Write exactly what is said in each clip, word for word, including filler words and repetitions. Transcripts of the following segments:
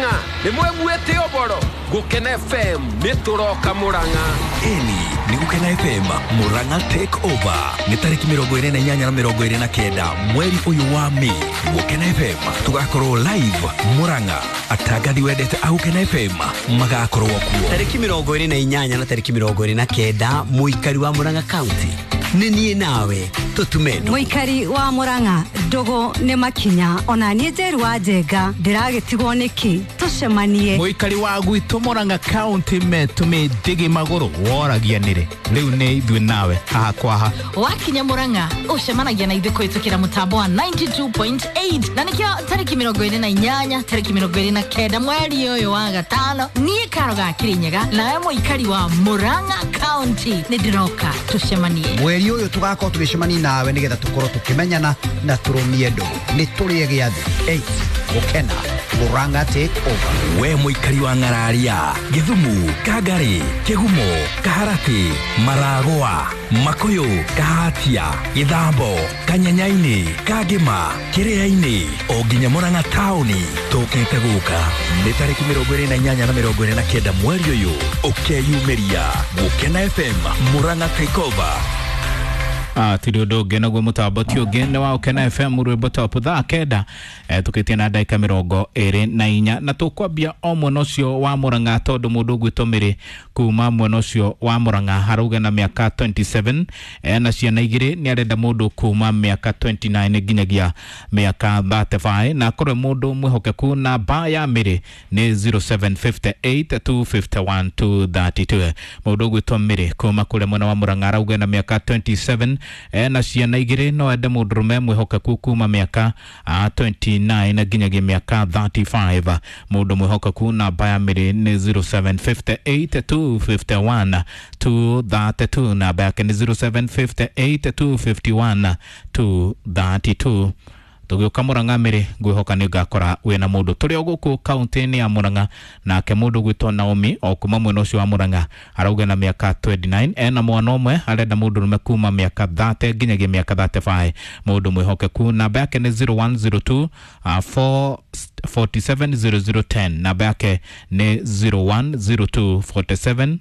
Murang'a nĩ mweguĩte ũboro Gukena F M nĩ tũroka Murang'a. Eni ni Gukena F M Murang'a take over nĩ tarĩki mĩrongo ĩrĩ na inyanya na mĩrongo ĩrĩ na kenda mweri ũyũ wa Mei. Gukena F M tugakorwo live Murang'a, atangathi wendete a Gukena F M magakorwo kuo tarĩki mĩrongo ĩrĩ na inyanya na tarĩki mĩrongo ĩrĩ na kenda. Mũikari wa Murang'a County nĩ niĩ nawe tũtume ndũgũ. Mũikari wa Murang'a ndũgũ nĩ makinya ona niĩ Njeru wa Njenga ndĩragĩtigwo nĩkĩ tũcemanie. Mũikari wa gwitũ Murang'a County metũmĩ ndĩgĩ magũrũ woragia nĩrĩ rĩu nĩ ithuĩ nawe haha kwa ha. Wakinya Murang'a ũcemanagia na ithuĩ kũhĩtũkĩra mũtambo wa ninety two point eight na nĩkĩo tarĩki mĩrongo ĩrĩ na inyanya tarĩki mĩrongo ĩrĩ na kenda mweri ũyũ wa gatano niĩ Karo ga Kĩrĩnyaga nawe mũikari wa Murang'a County nĩ ndĩroka tũcemanie. Mweri ũyũ tũgakorwo tũgĩcemania nawe nĩgetha tũkorwo tũkĩmenyana na tũrũmie ndũgũ. Nĩ tũrĩe gĩathĩ eight Gukena Murang'a take over. We mũikari wa Ng'araria, Gĩthumu, Kangari, Kĩgumo, Kaharati, Maragwa, Makuyu, Kahatia, Gĩthambo, Kanyanyainĩ, Kangĩma, Kĩrĩainĩ o nginya Murang'a taũni tũkĩte gũka nĩ tarĩki mĩrongo ĩrĩ na inyanya na mĩrongo ĩrĩ na kenda mweri ũyũ ũkeyumĩria Gukena F M Murang'a take over. Ah, tiri ũndũ ũngĩ naguo mũtambo ti ũngĩ nĩ wa Gukena F M rwĩmbo top thaa kenda eh, tũkĩtie na ndagĩka mĩrongo ĩrĩ na inya na tũkwambia o mwena ũcio wa Murang'a tondũ mũndũ ũgwĩtwo Mĩrĩ kuma mwena ũcio wa Murang'a arauga na mĩaka twenty seven eh, na ciana igĩrĩ nĩ arenda mũndũ kuma mĩaka twenty nine nginyagia mĩaka thirty five na akorwo mũndũ mwĩhokeku. Namba ya Mĩrĩ nĩ zero seven five eight two five one two three two. Mũndũ ũgwĩtwo Mĩrĩ kuma kũrĩa mwena wa Murang'a arauga na mĩaka twenty seven eh, na ciana igĩrĩ no ende mũndũrũme mwĩhokeku kuma mĩaka twenty nine nginyagia mĩaka thirty five. Mũndũ mwĩhokeku namba ya Mĩrĩ nĩ zero seven five eight two five one two three two. Namba yake nĩ zero seven five eight two five one two three two. Tũgĩũka Murang'a Mĩrĩ ngwĩhoka nĩ ngakora wĩna mũndũ tũrĩ o gũkũ kaunti-inĩ ya Murang'a nake mũndũ gwĩtwo Naomi o kuma mwena ũcio wa Murang'a arauga na mĩaka twenty nine ena mwana ũmwe arenda mũndũrũme kuma mĩaka thirty nginyagia mĩaka thirty five. Mũndũ mwĩhokeku namba yake nĩ zero one zero two four forty seven zero zero ten. Namba yake nĩ zero one zero two forty seven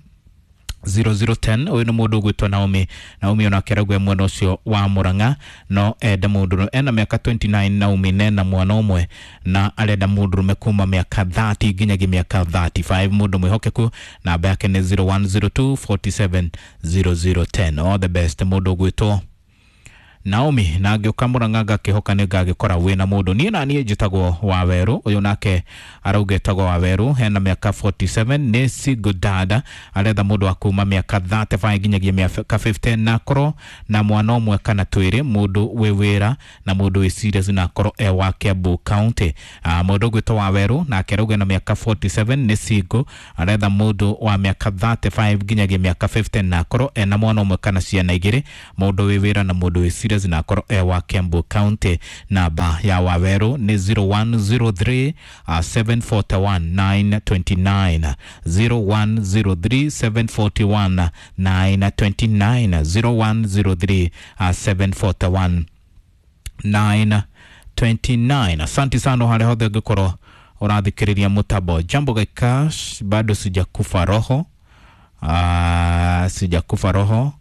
zero zero ten. Ũyũ nĩ mũndũ ũgwĩtwo Naomi. Naomi onake arauga mwena ũcio wa Murang'a no ende mũndũrũme ena mĩaka twenty nine. Naomi nena mwana ũmwe na arenda mũndũrũme kuma mĩaka thirty nginyagia mĩaka thirty five. Mũndũ mwĩhokeku namba yake nĩ zero one zero two forty seven zero zero ten. All the best mũndũ ũgwĩtwo Naomi na ngĩũka Murang'a ngakĩhoka nĩ ngagĩkora wĩna mũndũ. Niĩ na niĩ njĩtagwo Wawerũ, ũyũ nake arauga etagwo Wawerũ hena mĩaka forty seven nĩ single dad aretha mũndũ wa kuma mĩaka thirty five nginyagia mĩaka fifty na akorwo na mwana ũmwe kana twĩrĩ, mũndũ wĩ wĩra na mũndũ wĩ serious na akorwo e wa Kiambu County. Ah, mũndũ ũgwĩtwo Wawerũ nake arauga na mĩaka forty seven nĩ single aretha mũndũ wa mĩaka thirty five nginyagia mĩaka fifty na akorwo ena mwana ũmwe kana ciana igĩrĩ, mũndũ wĩ wĩra na mũndũ wĩ serious na akorwo e wa Kiambu County. Namba ya Wawerũ nĩ zero one zero three seven four one nine two nine zero one zero three seven four one nine two nine zero one zero three seven four one nine two nine. Asante sana harĩa hothe ũngĩkorwo ũrathikĩrĩria mũtambo. Jambo Gaikash, bado sijakufa roho. Uh, sijakufa roho.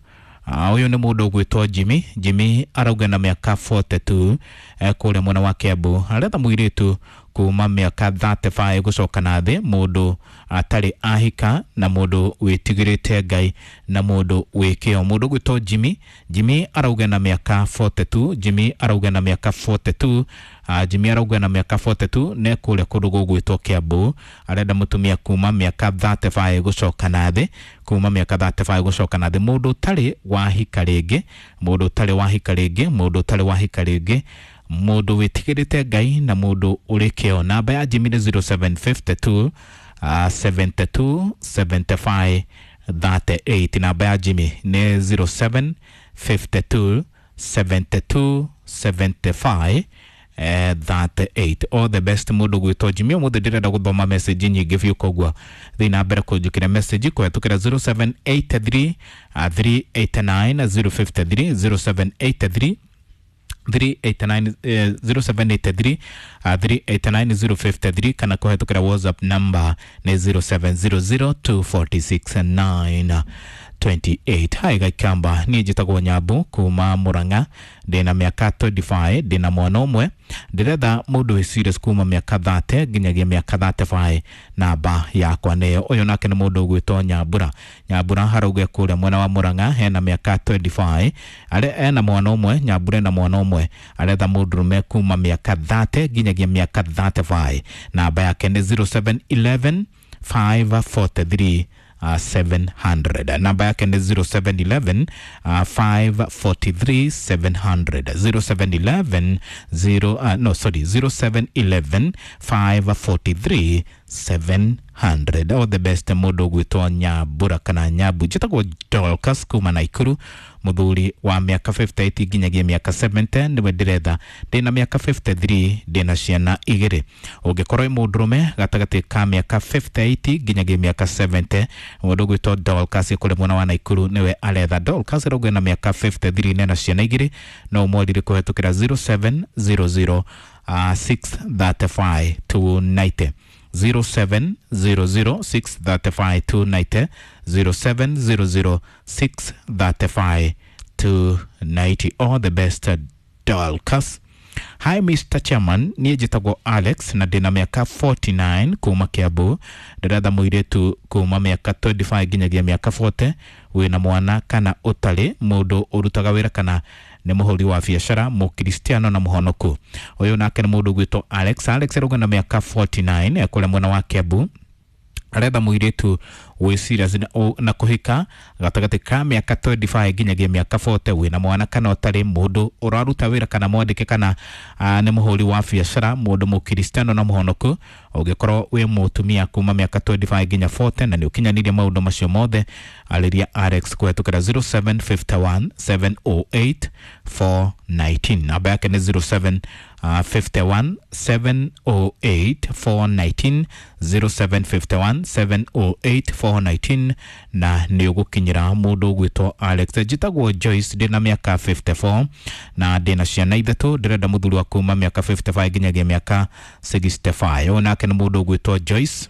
Ũyũ nĩ mũndũ ũgwĩtwo Jimmy. Jimmy arauga na mĩaka forty two eh, kũrĩa mwena wa Kiambu aretha mũirĩtu kuma mĩaka thirty five gũcoka na thĩ, mũndũ atarĩ ahika na mũndũ wĩtigĩrĩte Ngai na mũndũ wĩ kĩo. Mũndũ ũgwĩtwo Jimmy. Jimmy arauga na mĩaka forty two. Jimmy arauga na mĩaka forty two. Uh, Jimmy arauga na mĩaka forty two ne kũrĩa kũndũ gũgwĩtwo Kiambu arenda mũtumia kuma mĩaka thirty five gũcoka na thĩ, kuma mĩaka thirty five gũcoka na thĩ, mũndũ ũtarĩ wahika rĩngĩ, mũndũ ũtarĩ wahika rĩngĩ, mũndũ ũtarĩ wahika rĩngĩ, mũndũ wĩtigĩrĩte Ngai na mũndũ ũrĩ kĩo. Namba ya Jimmy nĩ zero seven five two seventy two seventy five thirty eight. Namba ya Jimmy nĩ zero seven five two seventy two seventy five thirty eight. All the best mũndũ gwĩtwo Jimmy. Ũmũthĩ ndĩrenda gũthoma message nyingĩ biũ koguo thiĩ na mbere kũnjĩkĩra message kũhetũkĩra zero seven eight three three eight nine zero five three zero seven eight three three eight nine eh, zero seven eight three uh, three eight nine zero five three kana kũhetũkĩra WhatsApp number nĩ zero seven zero zero two forty six nine twenty eight. Hi Gaikamba, niĩ njĩtagwo Nyambu kuma Murang'a, ndĩna mĩaka twenty five, ndĩna mwana ũmwe, ndĩretha mũndũ wĩ serious kuma mĩaka thirty nginyagia mĩaka thirty five, namba yakwa nĩyo. Ũyũ nake nĩ mũndũ ũgwĩtwo Nyambura. Nyambura harauga kũrĩa mwena wa Murang'a, hena mĩaka twenty five, are ena mwana ũmwe, Nyambura ena mwana ũmwe, aretha mũndũrũme kuma mĩaka thirty nginyagia mĩaka thirty five, namba yake nĩ zero seven eleven five forty three Uh, seven hundred. Namba yake ni zero seven eleven, uh, five forty three seven hundred. zero seven eleven, zero, uh, no, sorry, zero seven eleven, five forty three seven hundred. All the best mũndũ ũgwĩtwo Nyambura kana Nyambu. Njĩtagwo Dorcas kuma Naikuru, mũthuri wa mĩaka fifty eight nginyagia mĩaka seventy nĩwe ndĩretha. Ndĩna mĩaka fifty three, ndĩna ciana igĩrĩ. Ũngĩkorwo wĩ mũndũrũme gatagatĩ ka mĩaka fifty eight nginyagia mĩaka seventy, mũndũ ũgwĩtwo Dorcas kũrĩ mwena wa Naikuru nĩwe aretha. Dorcas arauga ena mĩaka fifty three na ena ciana igĩrĩ, no ũmwarĩrie kũhetũkĩra zero seven zero zero, uh, six thirty five two ninety. zero seven zero zero six thirty five two ninety, zero seven zero zero six thirty five two ninety. All the best, Dorcas. Hi Mister Chairman, niĩ njĩtagwo Alex na ndĩna mĩaka forty nine kuma Kiambu. Ndĩretha mũirĩtu kuma mĩaka twenty five nginyagia mĩaka forty, wĩna mwana kana ũtarĩ, mũndũ ũrutaga wĩra kana nĩ mũhũri wa biacara, mũkristiano na mũhonoku. Ũyũ nake nĩ mũndũ ũgwĩtwo Alex. Alex arauga na mĩaka forty nine kũrĩa mwena wa Kiambu, aretha mũirĩtu wĩ serious na, na kũhika gatagatĩ ka mĩaka twenty five nginyagia mĩaka forty, wĩna mwana kana ũtarĩ, mũndũ ũraruta wĩra kana mwandĩke kana uh, nĩ mũhũri wa biacara, mũndũ mũkristiano na mũhonoku. Ũngĩkorwo wĩ mũtumia kuma mĩaka twenty five nginya forty na nĩ ũkinyanĩirie maũndũ macio mothe, arĩria Alex kũhetũkĩra zero seven fifty one seven oh eight four nineteen. Namba yake nĩ zero seven fifty one seven oh eight four nineteen, zero seven fifty one seven oh eight four nineteen, na nĩ ũgũkinyĩra mũndũ ũgwĩtwo Alex. Njĩtagwo Joyce, ndĩna mĩaka fifty four na ndĩna ciana ithatũ, ndĩrenda mũthuri wa kuma mĩaka fifty five nginyagia mĩaka sixty five. Ũyũ nake nĩ mũndũ ũgwĩtwo Joyce.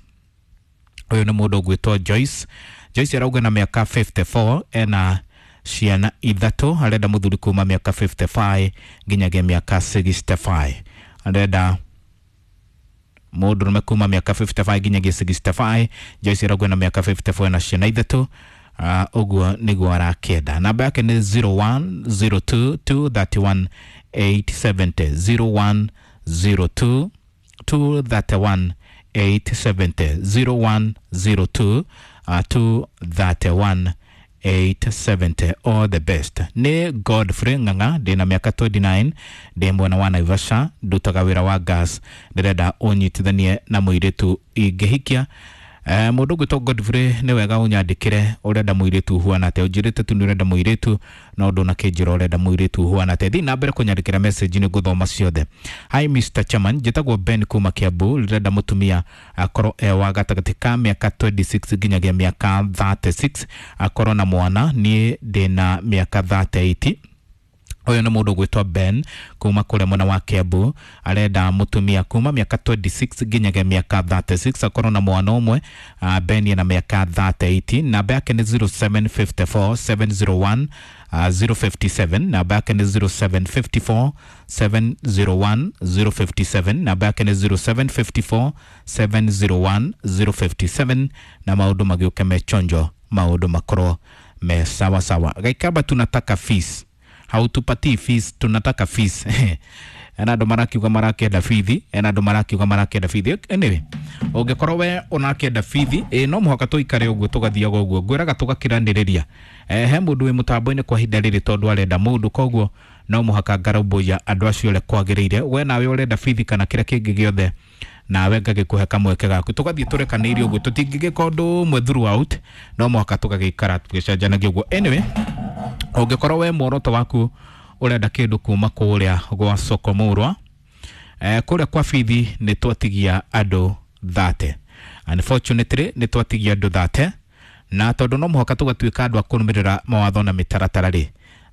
Ũyũ nĩ mũndũ ũgwĩtwo Joyce. Joyce arauga na mĩaka fifty four, ena ciana ithatũ, arenda mũthuri kuma mĩaka fifty five nginyagia mĩaka sixty five. Arenda mũndũrũme kuma mĩaka fifty five nginyagia sixty five. Joyce arauga na mĩaka fifty four na ciana ithatũ, uh, ũguo nĩguo arakĩenda. Namba yake nĩ zero one zero two two thirty one eight seventy, zero one zero two two thirty one eight seventy, zero one zero two, uh, two thirty one eight seventy. All the best. Nĩ Godfrey Ng'ang'a, ndĩna mĩaka twenty nine, ndĩ mwena wa Naivasha, ndutaga wĩra wa gas, ndĩrenda ũnyitithanie na mũirĩtu ingĩhikia. Eh, mũndũ ũgwĩtwo Godfrey, nĩ wega ũnyandĩkĩre ũrenda mũirĩtu ũhuana atĩa. Ũnjĩrĩte tu nĩ ũrenda mũirĩtu, no ndũnakĩnjĩra ũrenda mũirĩtu ũhuana atĩa. Thiĩ na mbere kũnyandĩkĩra message, nĩ ngũthoma ciothe. Hi Mister Chairman, njĩtagwo Ben kuma Kiambu, ndĩrenda mũtumia akorwo e wa gatagatĩ ka mĩaka twenty six nginyagia mĩaka thirty six, akorwo na mwana, niĩ ndĩna mĩaka thirty eight. Ũyũ nĩ mũndũ ũgwĩtwo Ben kuma kũrĩa mwena wa Kiambu, arenda mũtumia kuma mĩaka twenty six nginyagia mĩaka thirty six, akorwo na mwana ũmwe. Uh, Ben ena mĩaka thirty eight, namba yake nĩ zero seven fifty four seven zero one, uh, zero fifty seven, namba yake nĩ zero seven fifty four seven zero one zero fifty seven, namba yake nĩ zero seven fifty four seven zero one zero fifty seven, na maũndũ magĩũke me chonjo, maũndũ makorwo me sawa sawa. Gaikamba tunataka fees, hautupatii fees, tunataka fees. Ena andũ marakiuga marakĩenda bithi, ena andũ marakiuga marakĩenda bithi. Anyway, ũngĩkorwo we ũrakĩenda bithi, ĩ no mũhaka tũikare ũguo tũgathiaga ũguo, ngwĩraga tũgakiranĩrĩria. Eh, he mũndũ wĩ mũtambo-inĩ kwa ihinda rĩrĩ tondũ arenda mũndũ, koguo no mũhaka ngarũmbũiya andũ acio ũrĩa kwagĩrĩire. We nawe ũrenda bithi kana kĩrĩa kĩngĩ gĩothe, nawe ngagĩkũhe kamweke gaku, tũgathiĩ tũrekanĩirie ũguo, tũtingĩgĩka ũndũ ũmwe throughout, no mũhaka tũgagĩikara tũgĩcenjanagia ũguo. Anyway, ũngĩkorwo we muoroto waku ũrenda kĩndũ kuma kũrĩa gwa soko mũrwa, eh, kũrĩa kwa bithi nĩ twatigia andũ thate. Unfortunately nĩ twatigia andũ thate, na tondũ no mũhaka tũgatuĩka andũ a kũrũmĩrĩra mawatho na mĩtaratara rĩ,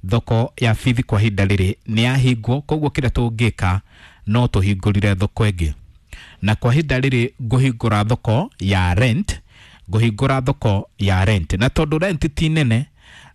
Thoko ya bithi kwa ihinda rĩrĩ nĩ yahingwo, koguo kĩrĩa tũngĩka no tũhingũrire thoko ĩngĩ. Na kwa ihinda rĩrĩ ngũhingũra thoko ya rent, ngũhingũra thoko ya rent. Na tondũ rent ti nene,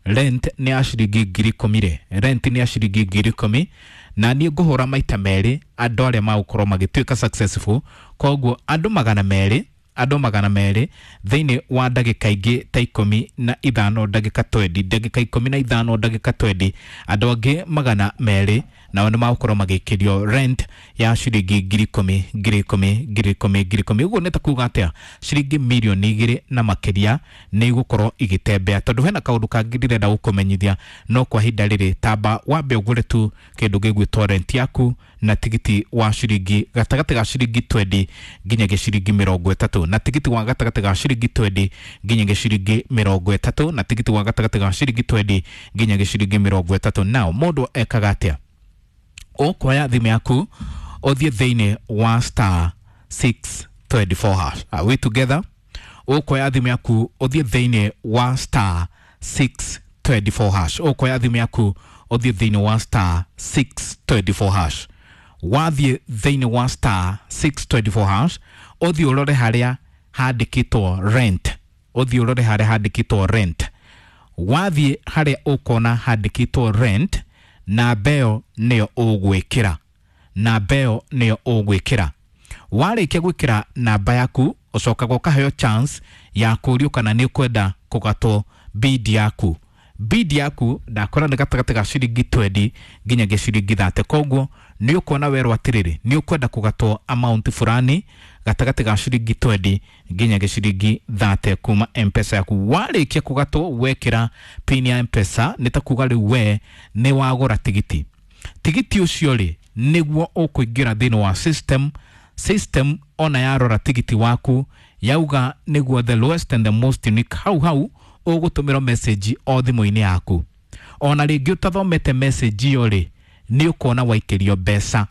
rent nĩ ya ciringi ngiri ikũmi rĩ, rent nĩ ya ciringi ngiri ikũmi, na niĩ ngũhũra maita merĩ andũ arĩa magũkorwo magĩtuĩka successful. Koguo andũ magana merĩ, andũ magana merĩ thĩinĩ wa ndagĩka ingĩ ta ikũmi na ithano ndagĩka twendi, ndagĩka ikũmi na ithano ndagĩka twendi, andũ angĩ magana merĩ nao nĩ magũkorwo magĩkĩrio rent ya ciringi ngiri ikũmi, ngiri ikũmi, ngiri ikũmi, ngiri ikũmi. Ũguo nĩ ta kuga atĩa? Ciringi mirioni igĩrĩ na makĩria nĩ igũkorwo igĩtembea. Tondũ hena kaũndũ kangĩ ndĩrenda gũkũmenyithia, no kwa ihinda rĩrĩ tamba wambe ũgũre tu kĩndũ gĩgwĩtwo rent yaku na tigiti wa ciringi gatagatĩ ga ciringi twendi nginyagia ciringi mĩrongo ĩtatũ, na tigiti wa gatagatĩ ga ciringi twendi nginyagia ciringi mĩrongo ĩtatũ, na tigiti wa gatagatĩ ga ciringi twendi nginyagia ciringi mĩrongo ĩtatũ. Nao mũndũ ekaga atĩa? Ũkuoya thimũ yaku ũthiĩ thĩinĩ wa star six twenty four hash. Are we together? Ũkuoya thimũ yaku ũthiĩ thĩinĩ wa star six twenty four hash. Ũkuoya thimũ yaku ũthiĩ thĩinĩ wa star six twenty four hash. Wathiĩ thĩinĩ wa star six twenty four hash, ũthiĩ ũrore harĩa handĩkĩtwo rent. Ũthiĩ ũrore harĩa handĩkĩtwo rent. Wathiĩ harĩa ũkona handĩkĩtwo rent, namba ĩyo nĩyo ũgwĩkĩra. Namba ĩyo nĩyo ũgwĩkĩra. Warĩkia gwĩkĩra namba yaku, ũcokaga ũkaheo chance ya kũũrio kana nĩ ũkwenda kũgatwo bid yaku. Bid yaku ndakora nĩ gatagatĩ ga ciringi twendi nginyagia ciringi thate. Koguo nĩ ũkuona werwo atĩrĩrĩ, nĩ ũkwenda kũgatwo amount fulani gatagatĩ ga ciringi twendi nginyagia ciringi thate kuma M-Pesa yaku. Warĩkia kũgatwo wekĩra pin ya M-Pesa, nĩ ta kuga rĩu we nĩ wagũra tigiti. Tigiti ũcio rĩ nĩguo ũkũingĩra thĩinĩ wa system. System ona yarora tigiti waku yauga nĩguo the lowest and the most unique, hau hau ũgũtũmĩrwo message o thimũ-inĩ yaku. Ona rĩngĩ ũtathomete message ĩyo rĩ, nĩ ũkuona waikĩrio mbeca.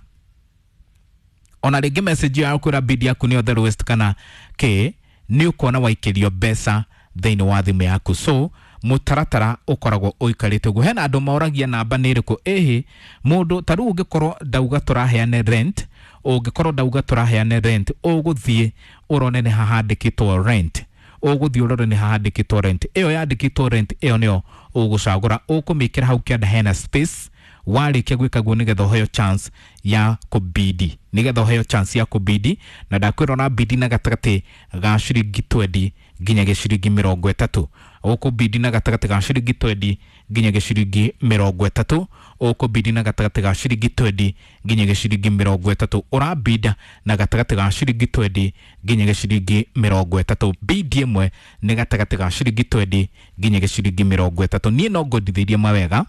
Ona rĩngĩ message ĩyo yakwĩra bid yaku nĩyo the lowest kana kĩ, nĩ ũkuona waikĩrio mbeca thĩinĩ wa thimũ yaku. So mũtaratara ũkoragwo ũikarĩte ũguo. Hena andũ moragia namba nĩ ĩrĩkũ. Ĩhĩ, mũndũ ta rĩu ũngĩkorwo ndauga tũraheane rent, ũngĩkorwo ndauga tũraheane rent, ũgũthiĩ ũrone nĩ hahandĩkĩtwo rent. Ũgũthiĩ ũrore nĩ hahandĩkĩtwo rent. Ĩyo yandĩkĩtwo rent ĩyo nĩyo ũgũcagũra, ũkũmĩkĩra hau kĩanda hena space. Warĩkia gwĩka guo nĩgetha ũheo chance ya kũbidi, nĩgetha ũheo chance ya kũbidi. Na ndakwĩra ona bidi na gatagatĩ ga ciringi twendi nginyagia ciringi mĩrongo ĩtatũ. Ũkũbidi na gatagatĩ ga ciringi twendi nginyagia ciringi mĩrongo ĩtatũ. Ũkũbidi na gatagatĩ ga ciringi twendi nginyagia ciringi mĩrongo ĩtatũ. Ũrabida na gatagatĩ ga ciringi twendi nginyagia ciringi mĩrongo ĩtatũ. Bidi ĩmwe nĩ gatagatĩ ga ciringi twendi nginyagia ciringi mĩrongo ĩtatũ. Niĩ no ngũndithĩrie mawega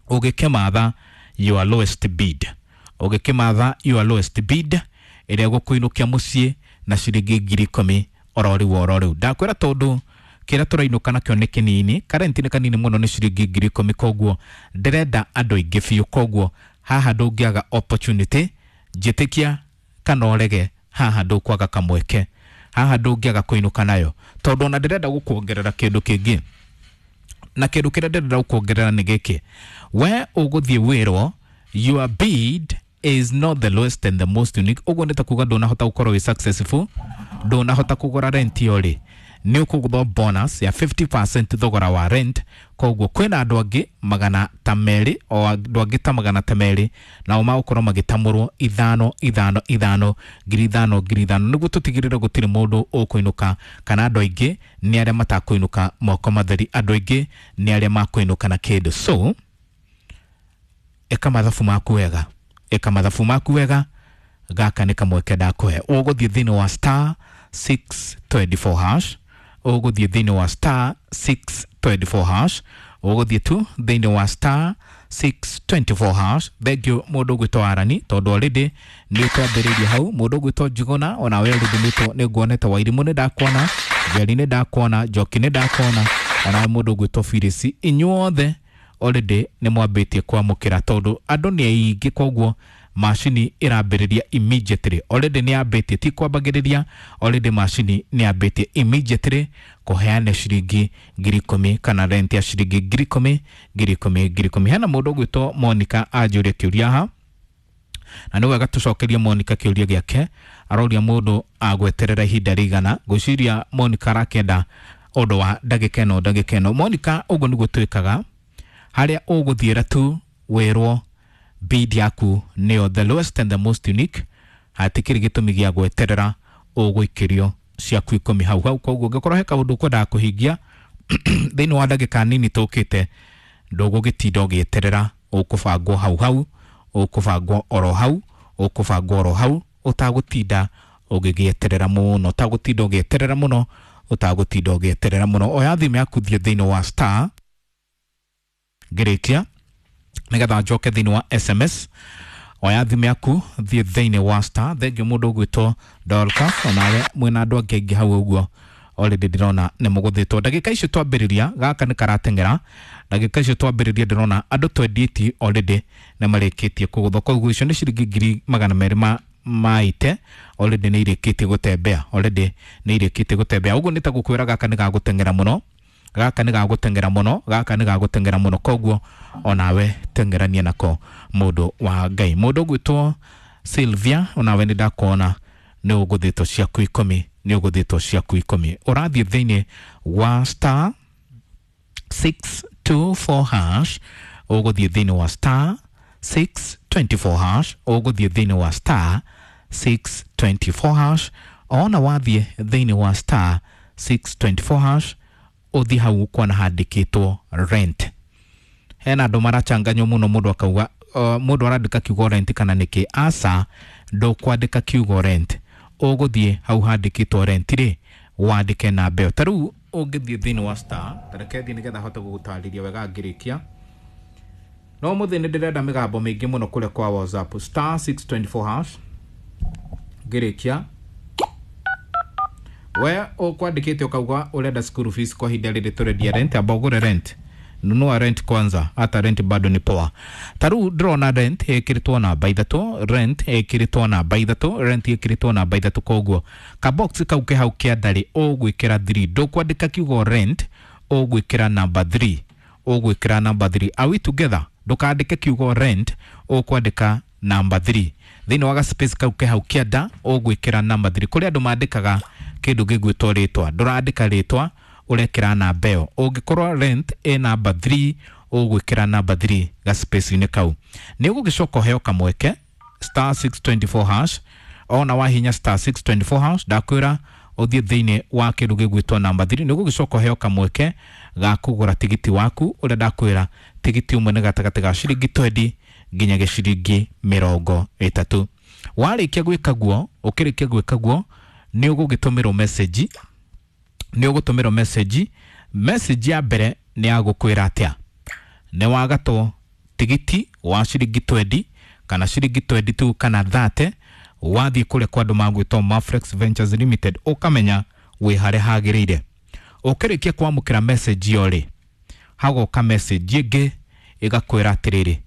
ũgĩkĩmatha your lowest bid, ũgĩkĩmatha your lowest bid ĩrĩa ĩgũkũinũkia mũciĩ na ciringi ngiri ikũmi oro rĩu oro rĩu. Ndakwĩra tondũ kĩrĩa tũrainũka nakĩo nĩ kĩnini, karenti nĩ kanini mũno, nĩ ciringi ngiri ikũmi, koguo ndĩrenda andũ aingĩ biũ. Koguo haha ndũngĩaga opportunity, njĩtĩkia kana ũrege, haha ndũkwaga kamweke, haha ndũngĩaga kũinũka nayo, tondũ ona ndĩrenda gũkuongerera kĩndũ kĩngĩ. Na kĩndũ kĩrĩa ndĩrenda gũkuongerera nĩ gĩkĩ: we ũgũthiĩ wĩrwo your bid is not the lowest and the most unique. Ũguo nĩ ta kuga ndũnahota gũkorwo wĩ successful, ndũnahota kũgũra rent ĩyo rĩ, nĩ ũkũgũthwo bonus ya fifty percent thogora wa rent. Koguo kwĩna andũ angĩ magana ta merĩ, o andũ angĩ ta magana ta merĩ, nao magũkorwo magĩtamũrwo ithano ithano ithano, ngiri ithano ngiri ithano, nĩguo tũtigĩrĩre gũtirĩ mũndũ ũkũinũka, kana andũ aingĩ nĩ arĩa matakũinũka moko matheri, andũ aingĩ nĩ arĩa makũinũka na kĩndũ. So ĩka mathabu maku wega, ĩka mathabu maku wega, gaka nĩ kamweke ndakũhe. Ũgũthiĩ thĩinĩ wa star six twenty four hash, ũgũthiĩ thĩinĩ wa star six twenty four hash, ũgũthiĩ tu thĩinĩ wa star six twenty four hash. Thank you mũndũ ũgwĩtwo Arani, tondũ already nĩ twambĩrĩirie hau. Mũndũ ũgwĩtwo Njuguna, ona we already nĩ nguonete. Wairimũ nĩ ndakuona, Njeri nĩ ndakuona, Njoki nĩ ndakuona, ona mũndũ ũgwĩtwo Phyllis, inyuothe already nĩ mwambĩtie kwamũkĩra, tondũ andũ nĩ aingĩ, koguo Macini ĩrambĩrĩria immediately, already nĩ yambĩtie, ti kwambagĩrĩria, already macini nĩ yambĩtie immediately kũheana ciringi ngiri ikũmi kana rent ya ciringi ngiri ikũmi, ngiri ikũmi, ngiri ikũmi. Hena mũndũ ũgwĩtwo Monica anjũria kĩũria haha, na nĩ wega tũcokerie Monica kĩũria gĩake. Aroria mũndũ agweterera ihinda rĩigana. Ngwĩciria Monica arakĩenda ũndũ wa ndagĩka ĩno, ndagĩka ĩno. Monica, ũguo nĩguo twĩkaga, harĩa ũgũthiĩra tu wĩrwo bid yaku nĩyo the lowest and the most unique, hatikĩrĩ gĩtũmi gĩa gweterera, ũgũikĩrio ciaku ikũmi hau hau. Koguo ũngĩkorwo he kaũndũ ũkwendaga kũhingia thĩinĩ wa ndagĩka nini tũkĩte, ndũgũgĩtinda ũgĩeterera, ũkũbangwo hau hau, ũkũbangwo oro hau, ũkũbangwo oro hau, ũtagũtinda ũgĩgĩeterera mũno, ũtagũtinda ũgĩeterera mũno, ũtagũtinda ũgĩeterera mũno. Oya thimũ yaku, thiĩ thĩinĩ wa star, ngĩrĩkia nĩgetha njoke thĩinĩ wa S M S. Oya thimũ yaku, thiĩ thĩinĩ wa star. Thengiũ mũndũ ũgwĩtwo Dorcas, onawe mwĩna andũ angĩ aingĩ hau ũguo already ndĩrona nĩ mũgũthĩtwo. Ndagĩka icio twambĩrĩria, gaka nĩ karateng'era. Ndagĩka icio twambĩrĩria, ndĩrona andũ twenty already nĩ marĩkĩtie kũgũthwo. Koguo icio nĩ ciringi ngiri magana merĩ ma maite already nĩ irĩkĩtie gũtembea, already nĩ irĩkĩtie gũtembea. Ũguo nĩ ta gũkwĩra gaka nĩ gagũteng'era mũno, gaka nĩ gagũteng'era mũno, gaka nĩ gagũteng'era mũno. Koguo onawe teng'erania nako, mũndũ wa Ngai. Mũndũ ũgwĩtwo Sylvia, onawe nĩ ndakuona nĩ ũgũthĩtwo ciaku ikũmi, nĩ ũgũthĩtwo ciaku ikũmi. Ũrathiĩ thĩinĩ wa star six two four hash, ũgũthiĩ thĩinĩ wa star six two four hash, ũgũthiĩ thĩinĩ wa star six two four hash. Ona wathiĩ thĩinĩ wa star six two four hash, ũthiĩ hau kuona handĩkĩtwo rent. Hena andũ marachanganywo mũno, mũndũ akauga uh, mũndũ arandĩka kiugo rent kana nĩkĩ. Aca, ndũkwandĩka kiugo rent, ũgũthiĩ hau handĩkĩtwo rent rĩ, wandĩke namba ĩyo. Ta rĩu ũngĩthiĩ thĩinĩ wa star, tareke thiĩ nĩgetha hote gũgũtarĩria wega ngĩrĩkia. No mũthĩ nĩ ndĩrenda mĩgambo mĩingĩ mũno kũrĩa kwa WhatsApp. Star six two four hash, ngĩrĩkia, we ũkwandĩkĩte ũkauga ũrenda school fees. Kwa ihinda rĩrĩ tũrendia rent, amba ũgũre rent, nunua rent kwanza, hata rent bado ni poa. Ta rĩu ndĩrona rent ĩkĩrĩtwo namba ithatũ, rent ĩkĩrĩtwo namba ithatũ, rent ĩkĩrĩtwo namba ithatũ. Koguo kabox kau ke hau kĩandarĩ ũgwĩkĩra three, ndũkwandĩka kiugo rent, ũgwĩkĩra namba three, ũgwĩkĩra namba three. Are we together? Ndũkandĩke kiugo rent, ũkwandĩka namba three thĩinĩ wa gaspace kau ke hau kĩanda, ũgwĩkĩra namba three. Kũrĩ andũ mandĩkaga kĩndũ gĩgwĩtwo rĩtwa, ndũrandĩka rĩtwa, ũrekĩra namba ĩyo. Ũngĩkorwo rent ĩ namba three, ũgwĩkĩra namba three gaspace-inĩ kau. Nĩ ũgũgĩcoka ũheo kamweke star six two four hash. Ona wahinya star six two four hash, ndakwĩra ũthiĩ thĩinĩ wa kĩndũ gĩgwĩtwo namba three, nĩ ũgũgĩcoka ũheo kamweke ga kũgũra tigiti waku, ũrĩa ndakwĩra tigiti ũmwe nĩ gatagatĩ ga ciringi twenty nginya ciringi mĩrongo ĩtatũ. Warĩkia gwĩka guo, ũkĩrĩkia gwĩka guo, nĩ ũgũgĩtũmĩrwo message, nĩ ũgũtũmĩrwo message. Message ya mbere nĩ ya gũkwĩra atĩa? Nĩ wagatwo tigiti wa ciringi twenty kana ciringi twenty-two kana thirty, wathiĩ kũrĩa kwa andũ magwĩtwo Maflex Ventures Limited, ũkamenya wĩ harĩa hagĩrĩire. Ũkĩrĩkia kwamũkĩra message ĩyo rĩ, hagoka message ĩngĩ ĩgakwĩra atĩrĩrĩ,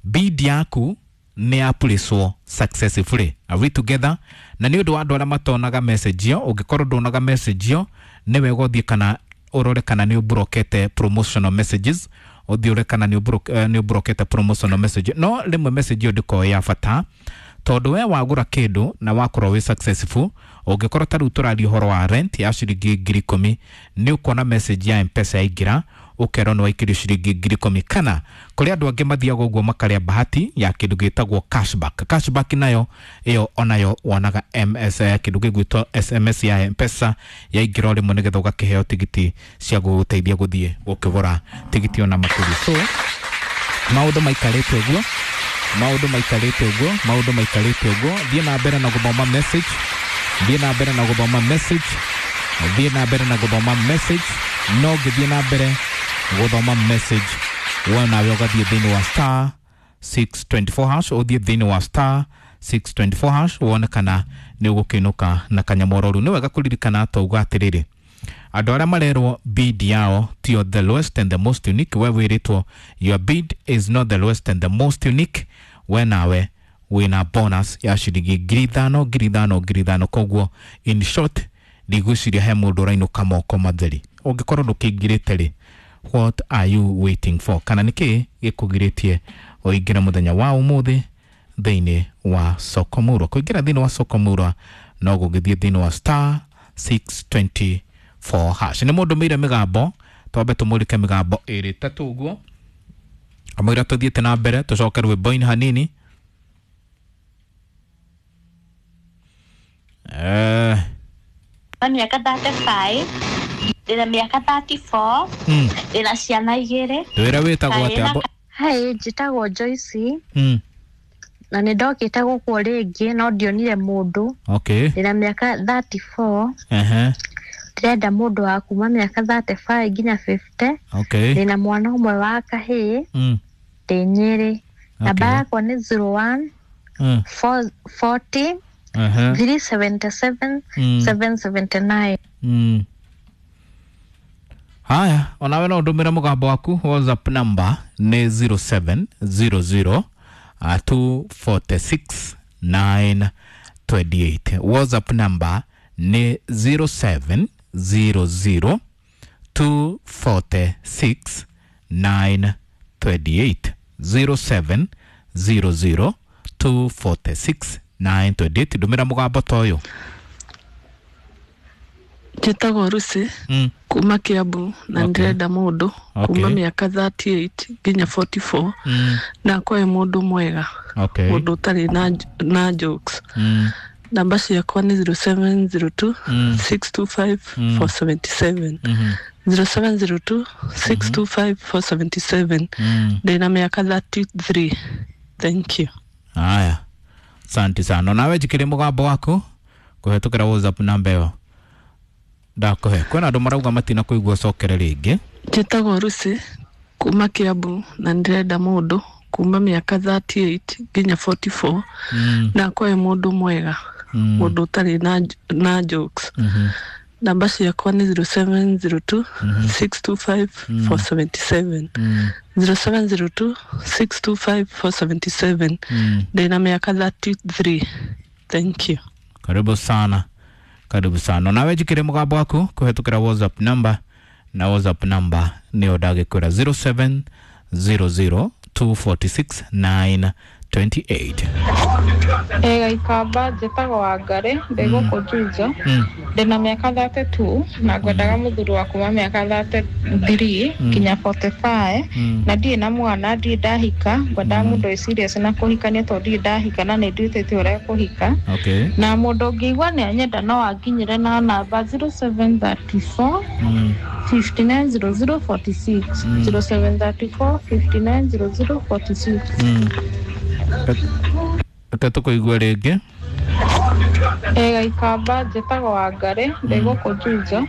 bid yaku nĩ yapurĩcwo successfully. Are we together? Na nĩ ũndũ wa andũ arĩa matonaga message ĩyo, ũngĩkorwo ndonaga message ĩyo, nĩ wega ũthiĩ kana ũrore kana nĩ ũmburokete promotional messages, ũthiĩ ũrore kana nĩ ũmburokete promotional message. No rĩmwe message ĩyo ndĩkoragwo ya bata, tondũ we wagũra kĩndũ na wakorwo wĩ successful, ũngĩkorwo ta rĩu tũraria ũhoro wa rent ya ciringi ngiri ikũmi, nĩ ũkuona message ya M-Pesa yaingĩra, ũkerwo nĩ waikĩrio ciringi ngiri ikũmi. Kana kũrĩ andũ angĩ mathiaga ũguo makarĩa bahati ya kĩndũ gĩtagwo cashback. Cashback nayo ĩyo onayo wonaga M S, kĩndũ gĩgwĩtwo S M S ya M-Pesa yaingĩra o rĩmwe, nĩgetha ũgakĩheo tigiti cia gũgũteithia gũthiĩ gũkĩgũra tigiti ona makĩria. So maũndũ maikarĩte ũguo, maũndũ maikarĩte ũguo, maũndũ maikarĩte ũguo. Thiĩ na mbere na gũthoma message, thiĩ na mbere na gũthoma message, thiĩ na mbere na gũthoma message. No ngĩthiĩ na mbere gũthoma message, we nawe ũgathiĩ thĩinĩ wa star six two four hash, ũthiĩ thĩinĩ wa star six two four hash, wone kana nĩ ũgũkĩinũka na kanyamororu. Nĩ wega kũririkana twauga atĩrĩrĩ, andũ arĩa marerwo bid yao tio the lowest and the most unique, we wĩrĩtwo your bid is not the lowest and the most unique, we nawe Wina bonus ya ciringi ngiri ithano ngiri ithano ngiri ithano. Koguo in short ndigwiciria he mundu urainuka moko matheri. Ungikorwo ndukingirite ri, what are you waiting for? Kana niki gikugiritie uingire muthenya wa umuthi thiini wa soko murwa? Kuingira thiini wa soko murwa no gugithie thiini wa star six twenty four hash. Ni mundu mire migambo, twambe tumurike migambo iri tatu uguo amwira tuthiete na mbere tucoke rwimbo-ini hanini. Eh, na miaka thirty-five, ndĩna miaka thirty-four, ndĩna ciana igĩrĩ. Twĩre wĩtagwo atĩa? Hi, njĩtagwo Joyce. Mm. Na nĩ ndokĩte gũkũ rĩngĩ no ndionire mũndũ. Okay. Ndĩna miaka thirty-four. Ehe. Ndĩrenda mũndũ wa kuma miaka thirty-five nginya fifty. Okay. Ndĩna mwana ũmwe wa kahĩĩ. Mm. Ndĩ Nyĩrĩ. Namba yakwa nĩ zero one mm. forty Uh-huh. three seventy-seven mm. seven seventy-nine. Mm. Haya, onawe no ndumire mugambo waku. WhatsApp number ni zero seven zero zero two four six nine two eight. WhatsApp number ni zero seven zero zero two four six nine two eight. zero seven zero zero two four six nine two eight. Ndumira mugambo toyo. Njĩtagwo Lucy mm. kuma Kiambu na ndĩrenda mũndũ kuma mĩaka thirty-eight nginya forty-four mm. na akorwo mũndũ mwega, okay. mũndũ ũtarĩ na, na jokes. mm. Namba ciakwa nĩ zero seven zero two mm. six two five mm. four seven seven. mm -hmm. zero seven zero two six two five four seven seven. mm. Ndĩna mĩaka thirty-three. Thank you. Haya, asante sana. Nawe jikire mugambo waku kuhetukira WhatsApp namba ĩyo ndakuhe. Kwĩna andũ marauga matina kũigua cokere rĩngĩ. Njĩtagwo Lucy kuma Kiambu na ndĩrenda mũndũ kuma mĩaka thirty-eight nginya forty-four mm. na akorwo mũndũ mwega, mm. mũndũ ũtarĩ na, na jokes. mm -hmm. Namba ciakwa nĩ zero seven zero two mm -hmm. six two five mm. four seven seven. mm. zero seven zero two six two five four seven seven. mm. Ndĩna mĩaka thirty-three. Thank you. Karibu sana, karibu sana. Nawe jikire mugambo waku kuhetukira WhatsApp number, na WhatsApp number nĩyo ndagĩkwĩra zero seven zero zero two four six nine two eight. Ega ikamba, njĩtagwo Wangari, ndĩ gũkũ Juja. Ndĩna mĩaka thirty-two na ngwendaga mũthuri wa kuma mĩaka thirty-three nginya forty-five na ndirĩ na mwana, ndirĩ ndahika. Ngwendaga mũndũ wĩ serious na kũhikania tondũ ndirĩ ndahika na nĩ nduĩte ũrĩa kũhika. Okay. Na mũndũ ũngĩigua nĩ anyenda no anginyĩre na namba zero seven three four fifty-nine zero zero forty-six. zero seven three four fifty-nine zero zero forty-six. Reke tũkũigue rĩngĩ. Ega ikamba, njĩtagwo Wangari, ndĩ gũkũ Juja.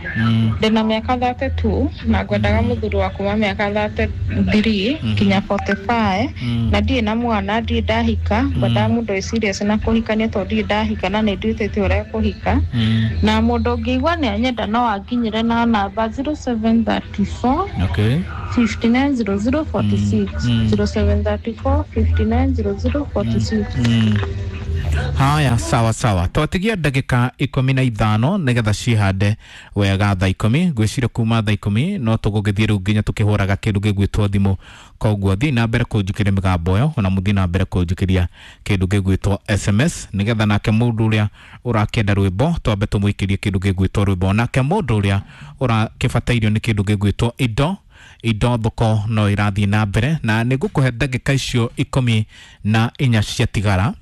Ndĩna mĩaka thirty-two na ngwendaga mũthuri wa kuma mĩaka thirty-three nginya forty-five na ndirĩ na mwana, ndirĩ ndahika. Ngwendaga mũndũ wĩ serious na kũhikania tondũ ndirĩ ndahika na nĩ nduĩte ũrĩa kũhika. Mm. Na mũndũ ũngĩigua nĩ anyenda no anginyĩre na namba zero seven three four Okay. fifty-nine zero zero forty-six. Mm. zero seven three four fifty-nine zero zero forty-six. Mm. Haya, sawa sawa, twatigia ndagika ikumi na ithano nigetha cihande wega thaa ikumi. Ngwiciria kuma thaa ikumi no tugugithie riu nginya tukihuraga kindu gigwitwo thimu. Koguo thii na mbere kunjikiria migambo ĩyo, ona muthii na mbere kunjikiria kindu gigwitwo S M S nigetha nake mundu uria urakienda rwimbo twambe tumuikirie kindu gigwitwo rwimbo, nake mundu uria urakĩbatairio nĩ kindu gigwitwo indo indo thoko no irathii na mbere, na nĩngũkũhe ndagĩka icio ikumi na inya ciatigara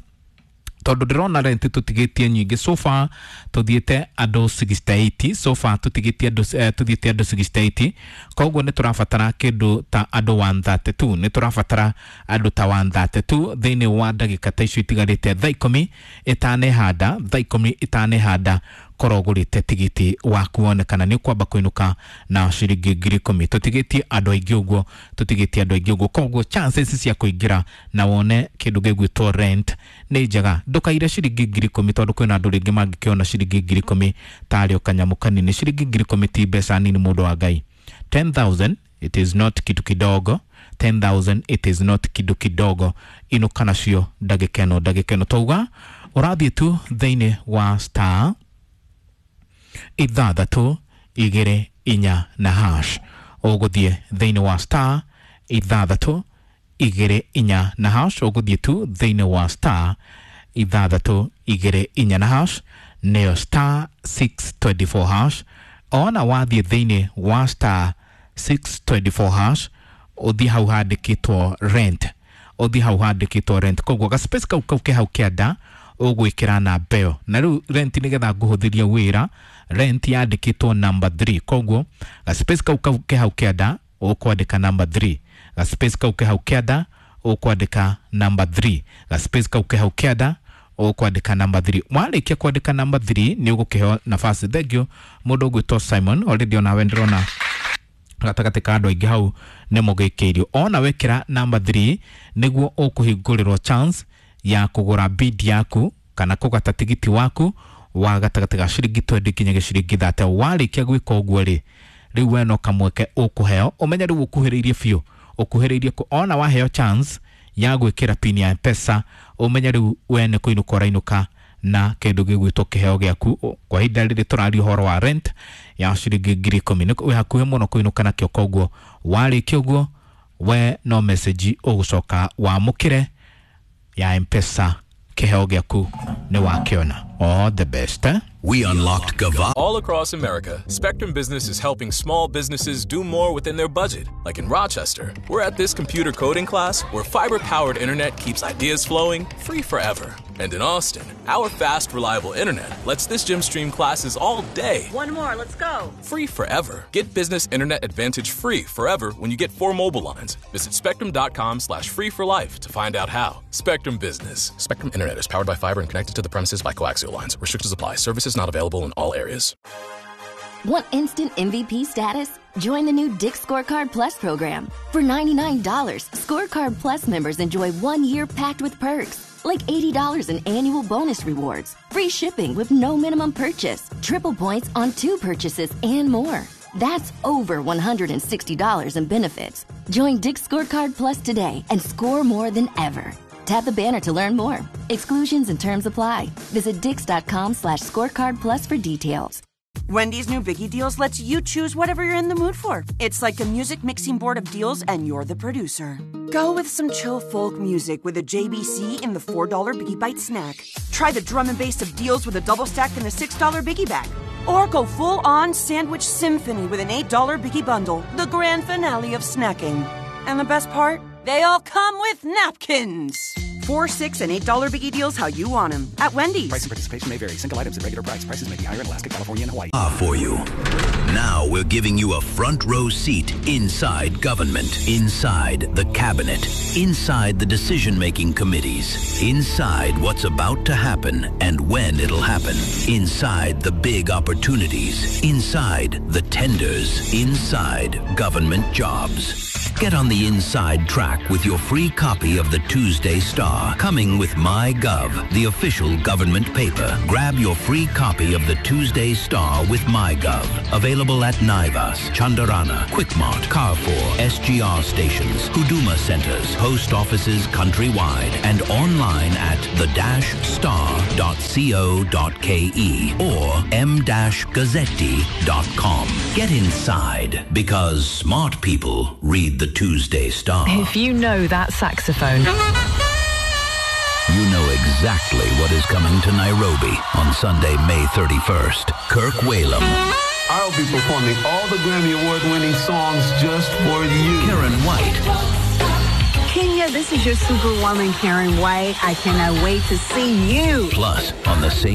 tondu ndirona rent tutigitie nyingi. So far tuthiete andu sixty-eight, so far tutigitie andu eh, tuthiete andu sixty-eight. Koguo ni turabatara kindu ta andu one thirty-two, ni turabatara andu ta one thirty-two thiini wa ndagika ta icio itigarite thaa ikumi itanehanda, thaa ikumi itanehanda korwo ũgũrĩte tigiti waku wone kana nĩ ũkwamba kũinũka na ciringi ngiri ikũmi. Tũtigĩtie andũ aingĩ ũguo, tũtigĩtie andũ aingĩ ũguo, koguo chances cia kũingĩra na wone kĩndũ gĩgwĩtwo rent nĩ njega. Ndũkaire ciringi ngiri ikũmi tondũ kwĩna andũ rĩngĩ mangĩkĩona ciringi ngiri ikũmi tarĩ o kanyamũ kanini. Ciringi ngiri ikũmi ti mbeca nini, mũndũ wa Ngai. ten thousand it is not kitu kidogo. ten thousand it is not kidu kidogo. Inuka nacio ndagĩka ĩno ndagĩka ĩno twauga ũrathiĩ tu thĩinĩ wa star ithathatũ igĩrĩ inya na hash. Ũgũthiĩ thĩinĩ wa star ithathatũ igĩrĩ inya na hash. Ũgũthiĩ tu thĩinĩ wa star ithathatũ igĩrĩ inya na hash, nĩyo star six twenty four hash. Ona wathiĩ thĩinĩ wa star six twenty four hash, ũthiĩ hau handĩkĩtwo rent, ũthiĩ hau handĩkĩtwo rent. Koguo ga space kau kau ke hau kĩanda ũgwĩkĩra namba ĩyo. Na rĩu rent nĩgetha ngũhũthĩrie wĩra, rent yandĩkĩtwo number three. Koguo ga space kau kau ke hau kĩanda ũkwandĩka number three. Ga space kau ke hau kĩanda ũkwandĩka number three. Ga space kau ke hau kĩanda ũkwandĩka number three. Warĩkia kwandĩka number three nĩ ũgũkĩheo nafasi. Thank you mũndũ ũgwĩtwo Simon, already onawe ndĩrona gatagatĩ ka andũ aingĩ hau nĩ mũgĩkĩirio. Ona wekĩra number three nĩguo ũkũhingũrĩrwo chance ya kũgũra bid yaku kana kũgata tigiti waku wa gatagatĩ ga ciringi twenty nginya ciringi thirty. Warĩkia gwĩka ũguo rĩ, rĩu we no kamweke ũkũheo. Ũmenye rĩu ũkuhĩrĩirie biũ, ũkuhĩrĩirie ona waheo chance ya gwĩkĩra pin ya M-Pesa, ũmenye rĩu we nĩ kũinũka ũrainũka na kĩndũ gĩgwĩtwo kĩheo gĩaku. Kwa ihinda rĩrĩ tũraria ũhoro wa rent ya ciringi ngiri ikũmi, nĩ wĩ hakuhĩ mũno kũinũka nakĩo. Koguo warĩkia ũguo we no message ũgũcoka wamũkĩre ya M-Pesa, kĩheo gĩaku nĩ wakĩona. All the best, eh? We unlocked Gava. All across America, Spectrum Business is helping small businesses do more within their budget. Like in Rochester, we're at this computer coding class where fiber-powered internet keeps ideas flowing free forever. And in Austin, our fast, reliable internet lets this gym stream classes all day. One more, let's go. Free forever. Get business internet advantage free forever when you get four mobile lines. Visit spectrum.com slash free for life to find out how. Spectrum Business. Spectrum Internet is powered by fiber and connected to the premises by coaxial lines. Restrictions apply. Services not available in all areas. Want instant M V P status? Join the new Dick's Scorecard Plus program. For ninety-nine dollars, Scorecard Plus members enjoy one year packed with perks, like eighty dollars in annual bonus rewards, free shipping with no minimum purchase, triple points on two purchases, and more. That's over one hundred sixty dollars in benefits. Join Dick's Scorecard Plus today and score more than ever. Tap the banner to learn more. Exclusions and terms apply. Visit dicks.com slash scorecard plus for details. Wendy's new Biggie Deals lets you choose whatever you're in the mood for. It's like a music mixing board of deals, and you're the producer. Go with some chill folk music with a J B C in the four dollar Biggie Bite snack. Try the drum and bass of deals with a double stack and a six dollar Biggie Bag. Or go full-on sandwich symphony with an eight dollar Biggie Bundle, the grand finale of snacking. And the best part? They all come with napkins. Four, six, and eight dollar Biggie Deals, how you want them at Wendy's. Price and participation may vary. Single items at regular price. Prices may be higher in Alaska, California, and Hawaii. Ah, for you. Now we're giving you a front row seat inside government, inside the cabinet, inside the decision-making committees, inside what's about to happen and when it'll happen, inside the big opportunities, inside the tenders, inside government jobs. Get on the inside track with your free copy of the Tuesday Star, coming with MyGov, the official government paper. Grab your free copy of the Tuesday Star with MyGov. Available at Naivas, Chandarana, Quickmart, Carrefour, S G R stations, Huduma centers, post offices countrywide, and online at the dash star dot co dot k e or m dash gazzetti dot com. Get inside, because smart people read the Tuesday Star. If you know that saxophone, you know exactly what is coming to Nairobi on Sunday, May thirty-first. Kirk Whalum. I'll be performing all the Grammy Award-winning songs just for you. Karen White. Kenya, this is your superwoman, Karen White. I cannot wait to see you. Plus, on the same